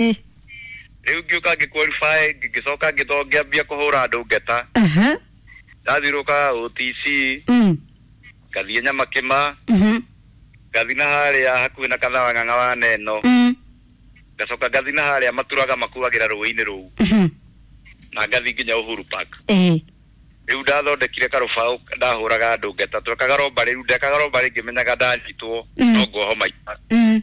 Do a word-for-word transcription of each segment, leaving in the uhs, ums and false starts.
Ĩ. Rĩu ngĩũka ngĩ qualify, ngĩcoka ngĩtho ngĩambia kũhũra andũ ngeta. Aha. Ndathiũrũka O T C, Mm. ngathiĩ Nyamakĩma, Mhm. ngathiĩ na harĩa hakuhĩ na Kathawa Ng'ang'a wa Neno, Mm. ngacoka ngathiĩ na harĩa maturaga makuagĩra rũĩ-inĩ rũu, Mhm. na ngathiĩ nginya Uhuru Park. Ĩ. Rĩu ndathondekire karũbaũ ndahũraga andũ ngeta, twekaga robbery. Rĩu ndekaga robbery ngĩmenyaga ndanyitwo Mm. no nguoho maita. Mm.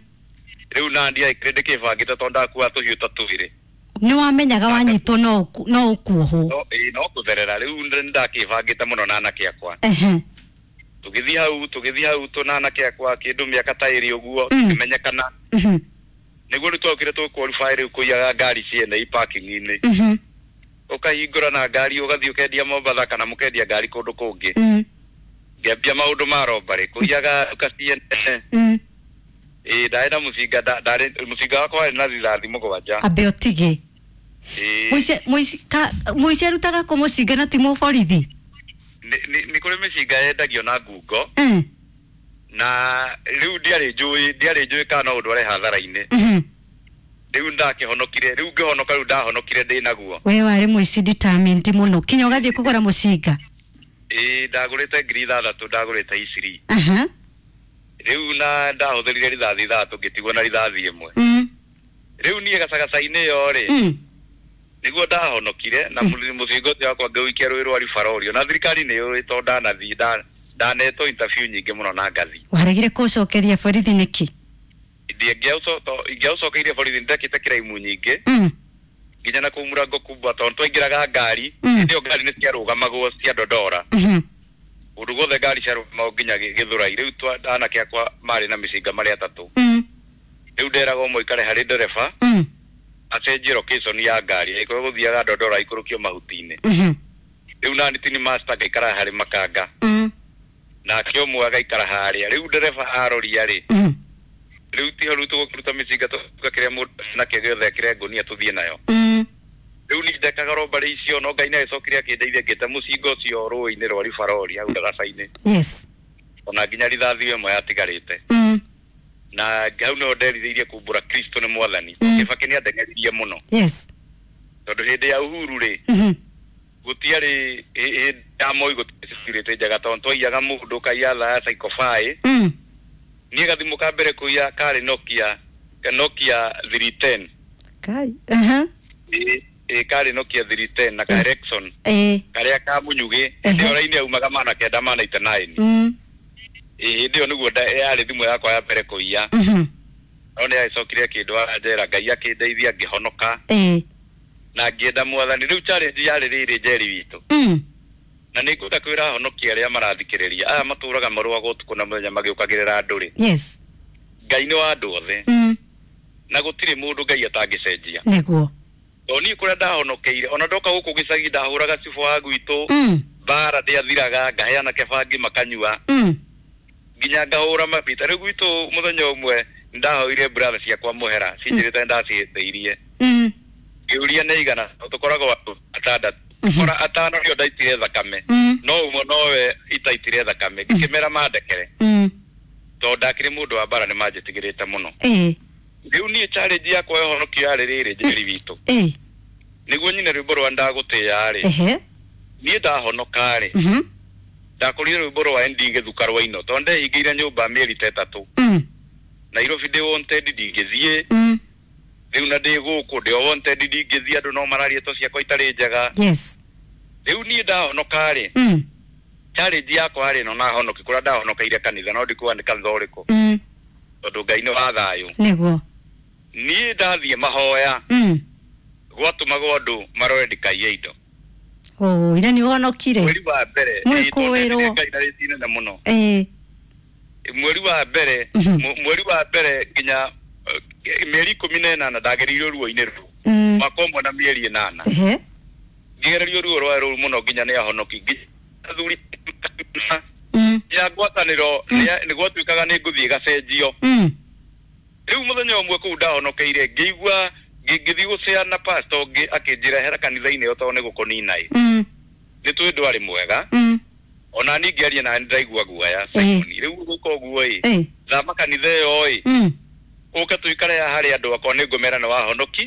Rĩu na ndiaikire ndĩkĩbangĩte tondũ ndakua tũhiũ ta twĩrĩ. Nĩ wamenyaga wanyitwo no ũku- no ũkuohwo. No ĩĩ, no kũtherera. Rĩu nĩ ndakĩbangĩte mũno na anake akwa. Ehe. Tũgĩthiĩ hau, tũgĩthiĩ hau tũ na anake akwa kĩndũ mĩaka ta ĩrĩ ũguo, Mm. tũkĩmenyekana. Mhm. Nĩguo rĩu twokire tũ qualify rĩu kũiyaga ngari ciene i parking-inĩ. Mhm. Ũkahingũra na ngari ũgathiĩ ũkendia Mombatha kana mũkendia ngari kũndũ kũngĩ. Mm. Ngĩambia maũndũ ma robbery, kũiyaga nduka ciene. Mm. Ĩĩ, ndarĩ na mũcinga, nda- ndarĩ mũcinga wakwa warĩ na rithathi mũgwanja. Ambe ũtige. Ĩĩ. Mũici mũici ka mũici arutaga kũ mũcinga na ti mũborithi? nĩ nĩ- nĩ kũrĩ mĩcinga yendagio na ngungo. Mm. Na rĩu ndiarĩ njũĩ ndiarĩ njũĩ kana no ũndware hathara-inĩ. Mhm. Rĩu ndakĩhonokire, rĩu ngĩhonoka, rĩu ndahonokire ndĩ naguo. We warĩ mũici determined mũno kinya ũgathiĩ kũgũra mũcinga. Ĩĩ, ndagũrĩte ngiri ithathatũ, ndagũrĩte iciri. Aha. Rĩu na ndahũthĩrire rithathi ithathatũ, ngĩtigwo na rithathi ĩmwe. Mm. Rĩu niĩ gacagaca-inĩ ĩyo rĩ, Mm. nĩguo ndahonokire na mũcinga ũcio wakwa ngĩũikia rũĩ rwa Ribarorio, na thirikari nĩ yũĩ tondũ ndanathiĩ nda- ndanetwo interview nyingĩ mũno na ngathi. Waregire kũcokeria borithi nĩkĩ? Ingĩaũcokeirie borithi, nĩndekĩte kĩraimu nyingĩ, Mm. nginya na kũu mũrango kubwa, tondũ twaingĩraga ngari, Mm. hĩndĩ ĩyo ngari nĩ ciarũgamagwo cia Dodora, Mhm. kũndũ guothe ngari ciarũgamagwo nginya Gĩ- Gĩthũrai. Rĩu twa- anake akwa marĩ na mĩcinga marĩ atatũ. Mm. Rĩu nderaga ũmwe aikare harĩ ndereba, Mm. acenjie location ya ngari, angĩkorwo gũthiaga Dodora aikũrũkio mahuti-inĩ. Mhm. Rĩu nani tini master ngaikara harĩ makanga, Mm. nake ũmwe agaikara harĩa rĩu ndereba aroria rĩ. Mhm. Rĩu tiho rĩu tũgũkĩruta mĩcinga, tũgakĩrĩa mũndũ nakĩo gĩothe ekĩre ngũnia tũthiĩ nayo. Mm. Rĩu niĩ ndekaga robbery icio, no Ngai nĩagĩcokire akĩndeithia, ngĩte mũcinga ũcio rũĩ-inĩ rwa Ribarori hau ndaraca-inĩ, Yes. ona nginya rithathi ĩmwe yatigarĩte. Mm. Na hau nĩho nderirĩirie kumbũra Kristo nĩ mwathani. Mm. Kĩbakĩ nĩ andeng'eririe mũno, Yes. tondũ hĩndĩ ya Uhuru rĩ, Mhm. gũtiarĩ hĩ- hĩndĩ ya Moi gũtiarĩ security njega, tondũ twaiyaga mũndũ ũkaiya thaa ya Seiko five. Mm. Niĩ gathimũ ka mbere kũiya karĩ Nokia Nokia three ten. Kai. Aha. Ĩ ĩ, karĩ Nokia three ten na ka Ericsson, Ĩ. karĩa ka mũnyugĩ. Hĩndĩ ĩyo raini yaumaga magana kenda ma ninety nine. Mm. Ĩ, hĩndĩ ĩyo nĩguo nda- yarĩ thimũ yakwa ya mbere kũiya. Mhm. No nĩ agĩcokire akĩndwara njera, Ngai akĩndeithia ngĩhonoka, Ĩ. na ngĩenda mwathani. Rĩu challenge yarĩ rĩrĩ, Njeri witũ, Mm. na nĩ ngwenda kwĩra ahonokia arĩa marathikĩrĩria aya matũraga marũaga ũtukũ na mũthenya magĩũkagĩrĩra andũ rĩ, Yes. Ngai nĩ wa andũ othe, Mm. na gũtirĩ mũndũ Ngai atangĩcenjia. Nĩguo. Tondũ niĩ kũrĩa ndahonokeire, ona ndoka gũkũ gĩcagi ndahũraga cibũ wa gwitũ Mm. mbara, ndĩathiraga ngaheana kĩbangi makanyua, Mm. nginya ngahũra mabita. Rĩu gwitũ mũthenya ũmwe ndahoire brother ciakwa mũhera, cinjĩrĩte ndacihĩtĩirie. Mm. Ngĩũria nĩ igana, tũkoragwo andũ atandatũ, Mhm. kora atano nĩo ndaitire thakame, Mm. no ũmwe nowe itaitire thakame. Ngĩkĩmera mandekere, Mm. tondũ ndakĩrĩ mũndũ wa mbara, nĩ manjĩtigĩrĩte mũno. Ĩ. Rĩu niĩ challenge yakwa ya ũhonokio yarĩ rĩrĩ, Njeri witũ, Ĩ. nĩguo nyine rwĩmbo rwa ndagũtĩya rĩ, Ehe. niĩ ndahonoka rĩ, Mhm. ndakũrire rwĩmbo rwa N D Gĩthuka rwa ino, tondũ ndehingĩire nyũmba mĩeri ta ĩtatũ. Mm. Nairobi ndĩ wanted, ndingĩthiĩ. Mm. Rĩu na ndĩ gũkũ ndĩ o wanted, ndingĩthiĩ, andũ no mararia to ciakwa itarĩ njega. Yes. Rĩu niĩ ndahonoka rĩ, Mm. challenge yakwa rĩ, no nahonoki kũrĩa ndahonokeire kanitha, no ndikuga nĩ kanitha ũrĩkũ, Mm. tondũ Ngai nĩ wa thayũ. Nĩguo. Niĩ ndathiĩ mahoya, Mm. gwatũmagwo andũ marore ndikaiye indo. Oh, ira nĩ ũhonokire. Mweri wa mbere, Mwĩkũĩrwo. ĩĩ, tondũ ndendire Ngai na rĩti inene mũno. Ĩ. Mweri wa mbere, Mhm. mu- mweri wa mbere nginya eh, mĩeri ikũmi na ĩnana ndagereirio ruo-inĩ rũu, Mm. mwaka ũmwe na mĩeri ĩnana, Ehe. ngĩgererio ruo rwa rũu mũno nginya nĩ ahonoki, nginya athuri Mm. ya ngwatanĩro nĩ nĩ gwatuĩkaga nĩ ngũthiĩ gacenjio. Mm. Rĩu mũthenya ũmwe kũu ndahonokeire, ngĩigua ngĩ- ngĩthiĩ gũceana pastor ũngĩ, akĩnjĩra hera kanitha-inĩ ĩyo tondũ nĩ gũkũnina ĩ. Mm. Nĩ tũĩ ndwarĩ mwega. Mm. Ona niĩ ngĩaria na nĩ ndaigua guoya, Simon, rĩu gwĩka ũguo ĩ, Ĩ. thama kanitha ĩyo ĩ. Mm. Ũke tũikare haha harĩ andũ akwa, nĩ ngũmera nĩ wahonoki.